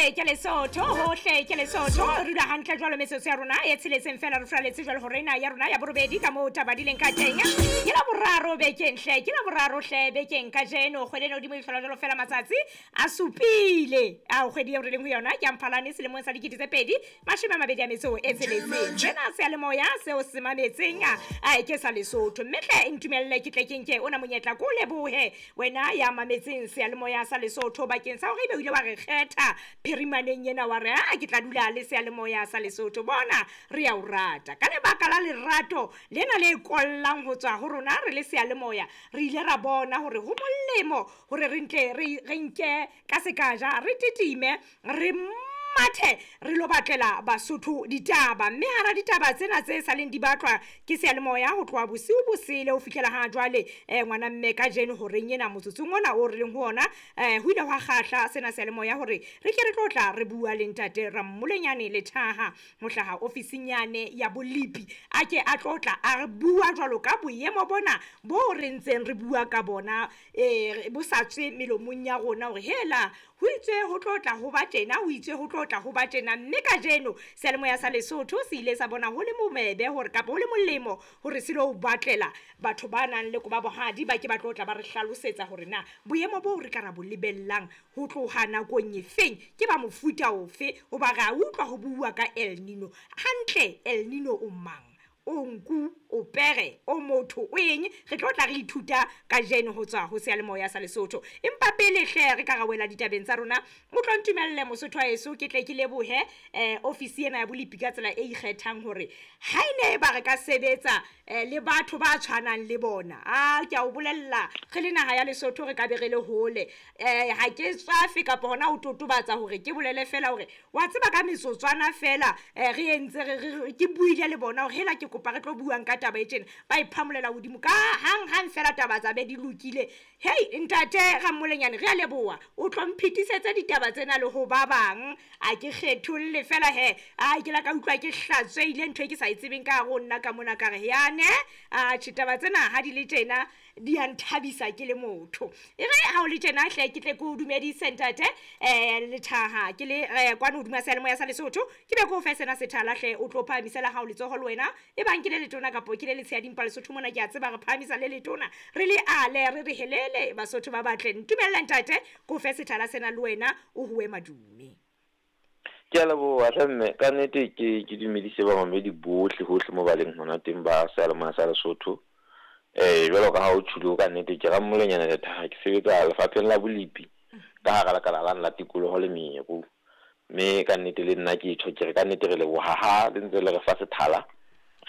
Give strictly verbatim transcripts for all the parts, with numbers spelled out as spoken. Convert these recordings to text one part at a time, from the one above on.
Hohle ke Lesotho, hohle ke Lesotho. Re dula hantle jwalo metsotso ya rona e tsheletseng fela re furaletse jwalo hore ena ya rona ya borobedi ka moo taba di leng ka teng. Ke la boraro bekeng hle, ke la boraro hle bekeng kajeno. Kgwedi ena hodimo e hlola jwalo fela matsatsi a supile. Ao kgwedi eo re leng ho yona ke ya Mphalane selemong sa dikete tse pedi mashome a mabedi a metso e tsheletseng. Sena seyalemoya seo se mametseng a ke sa Lesotho. Mme hle ntumelle ke tle ke nke ona monyetla ko lebohe wena ya mametseng seyalemoya sa Lesotho bakeng sa hore ebe o ile wa re kgetha phirimaneng ena wa re a ke tla dula le seyalemoya sa Lesotho. Bona re ya o rata ka lebaka la lerato lena le kollang ho tswa ho rona re le seyalemoya. Re ile ra bona hore ho molemo hore re ntle re re nke ka sekaja re titime re mathe re lo batlela Basotho ditaba. Mme hara ditaba tsena tse saleng di batlwa ke seyalemoya ho tloha bosiu bosele ho fihlela ha jwale eh ngwana mme kajeno horeng ena motsotsong ona o re leng ho ona eh ho ile hwa kgahla sena seyalemoya hore re ke re tlo tla re bua le ntate Rammolenyane Lethaha ho hlaha ofising yane ya Bolipi. A ke a tlo tla a re bua jwalo ka boemo bona bo re ntseng re bua ka bona eh bo sa tswe melomong ya rona hore hela ho itswe ho tlo tla ho ba tjena, ho itswe ho tlo tla ho ba tjena. Mme kajeno seyalemoya sa Lesotho se ile sa bona ho le momebe hore kapa ho le molemo hore se lo batlela batho ba nang le koba bohadi ba ke ba tlo tla ba re hlalosetsa hore na boemo bo re ka ra bo lebellang ho tloha nakong e feng ke ba mofuta ofe. Hoba re a utlwa ho bua ka El Nino hantle. El Nino o mang? O nku, o pere, o motho, o eng? Re tlo tla re ithuta kajeno ho tswa ho seyalemoya sa Lesotho. Empa pele hle re ka ra wela ditabeng tsa rona, o tlo ntumelle Mosotho wa heso ke tle ke lebohe eh ofisi ena ya Bolipi ka tsela e ikgethang hore ha e ne ba re ka sebetsa eh le batho ba tshwanang le bona. A ke a o bolella re le naha ya Lesotho re ka be re le hole. Eh ha ke tswafe kapa hona ho totobatsa hore ke bolele fela hore wa tseba ka metsotswana fela eh re entse re ke buile le bona hore hela ke kopa re tlo buang ka taba e tjena, ba iphamolela hodimo ka hang hang fela taba tsa be di lokile. Hei ntate Rammolenyane re a leboha, o tlo mphetisetsa ditaba tsena le ho ba bang. A ke kgetholle fela he a ke la ka utlwa ke hlatsweile ntho e ke sa e tsebeng ka hare ho nna ka mona ka re yane a tjhe taba tsena ha di le tjena di a nthabisa ke le motho. E re ha o le tjena hle ke tle ke o dumedise ntate eh Lethaha ke le eh, kwano hodima seyalemoya sa Lesotho ke be ke o fe sena sethala hle o tlo phahamisela hao letsoho le wena e bang ke le letona kapo ke le letshehadi mpa Lesotho mona ke a tseba re phahamisa le letona re le ale re re helele Basotho ba batle. Ntumella ntate ke o fe sethala sena le wena o huwe madume. Ke a leboha hle mme, ka nnete ke ke dumedise bamamedi bohle hohle mo ba leng hona teng ba seyalemoya sa Lesotho. Eh jwalo ka ha o tjhulo ka nnete ke Rammolenyane Lethaha, ke sebetsa lefapheng la Bolipi ka hara lekala la la tikoloho le meru. Mme ka nnete le nna ke tjho ke re ka nnete re leboha ha le ntse le re fa sethala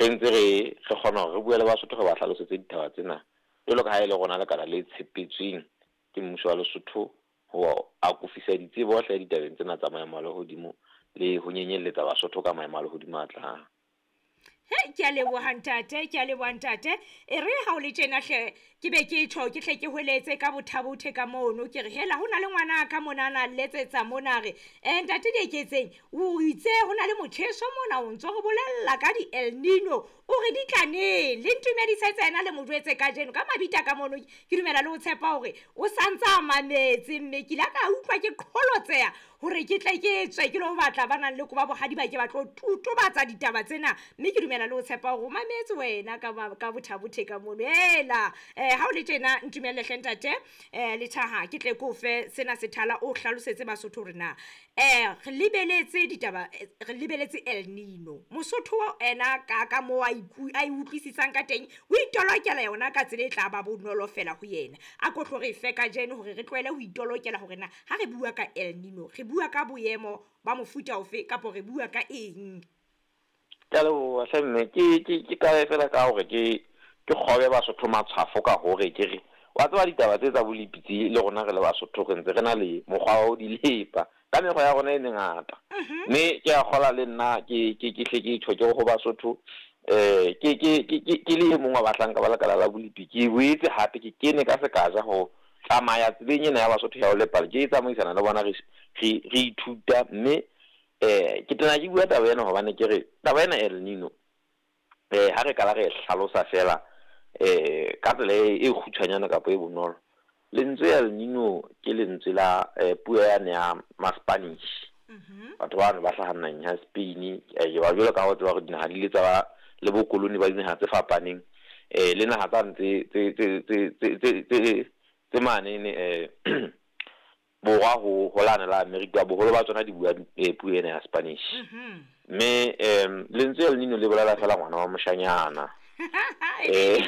re ntse re re kgona hore re bue le Basotho re ba hlalosetse ditaba tsena jwalo ka ha e le rona lekala le tshepetsweng ke mmuso wa Lesotho ho akofisa ditsebo hle ditabeng tsena tsa maemo a lehodimo le ho nyenyelletsa Basotho ka maemo a lehodimo a tlang. He ke a leboha ntate, ke a leboha ntate. E re ha o le tjena hle ke be ke tjho ke hle ke hweletse ka bothabothe ka mono ke re hela ho na le ngwana ka mona na letsetsa mona re eh ntate Dieketseng o itse ho na le motjheso mona o ntso re bolella ka di El Nino o re di tla neng le ntumedisetse yena le mo jwetse kajeno ka mabita ka mono. Ke dumela le ho tshepa hore o santsa mametse mme ke la ka utlwa ke qholotseha hore ke tle ke tswe ke lo batla ba nang le koba bohadi ba ke ba tlo totobatsa ditaba tsena. Mme ke dumela le ho tshepa hore o mametse wena ka ka bothabothe ka mono. Hela eh ha o le tjena ntumelle hle ntate eh Lethaha ke tle ke o fe sena sethala o hlalosetse Basotho hore na eh re lebeletse ditaba re lebeletse El Nino. Mosotho ena ka ka mo a a utlwisisang ka teng o itolokela yona ka tsela e tla ba bonolo fela ho yena. A ko tlo re fe kajeno hore re tlohele ho itolokela hore na ha re bua ka El Nino re bua ka boemo ba mofuta ofe kapa re bua ka eng. Ke a leboha hle mme, ke ke ke qale fela ka hore ke ke kgobe Basotho matshwafo ka hore ke re wa tseba ditaba tse tsa Bolipi tse le rona re le Basotho re ntse re na le mokgwa wa ho di lepa ka mekgwa ya rona e mengata. Mme ke a kgola le nna ke ke ke hle ke tjho ke ho Basotho eh ke ke ke ke le e mong wa bahlanka ba lekala la Bolipi ke boetse hape ke kene ka sekaja ho tsamaya tseleng ena ya Basotho ya ho lepa ke tsamaisana le bona re re ithuta. Mme eh ke tena ke bua taba ena hobane ke re taba ena El Nino eh ha re kala re hlalosa fela eh ka tsela e kgutshwanyane kapa e bonolo. Lentswe El Nino ke lentswe la eh, puo yane ya ma Spanish. Batho bano ba hlahang naheng ya Spain, eh ba jwalo ka ho tseba hore dinaha di ile tsa ba le bokoloni ba dinaha tse fapaneng, eh le naha tsane tse tse tse tse tse tse tse mane eh borwa ho ho lane la America, boholo ba tsona di bua puo ena ya Spanish. Mme em lentswe El Nino le bolela fela ngwana wa moshanyana. Eh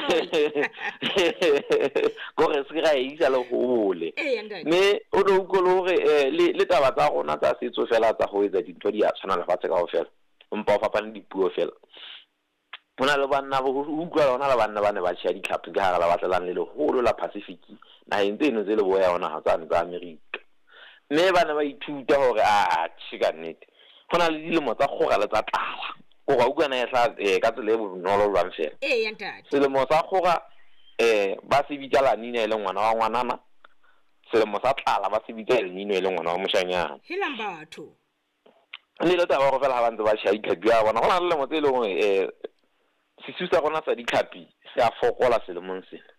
gore se ra isa le hole. Mme o no utlwe le hore le le taba tsa rona tsa setso fela tsa ho etsa dintho di a tshwana lefatshe kaofela, empa ho fapane dipuo fela. Ho na le banna bo utlwa hona le banna ba ne ba tjheha ditlhapi ka hara lewatle lane le leholo la Pacific, naheng tseno tse leboya ho naha tsane tsa America. Mme ba ne ba ithuta hore a tjhe ka nnete ho na le dilemo tsa kgora le tsa tlala. Kore wa utlwa na e hla ka tsela e bonolo jwang fela. Eya ntate. Selemo sa kgora eh ba se bitsa La Nina e leng ngwana wa ngwanana, selemo sa tlala ba se bitsa El Nino e leng ngwana wa moshanyana. Helang batho. Le le taba hore fela ha ba ntse ba tjheha ditlhapi ya bona, ho na le dilemo tse leng hore eh sesiu sa rona sa ditlhapi se a fokola selemong sena.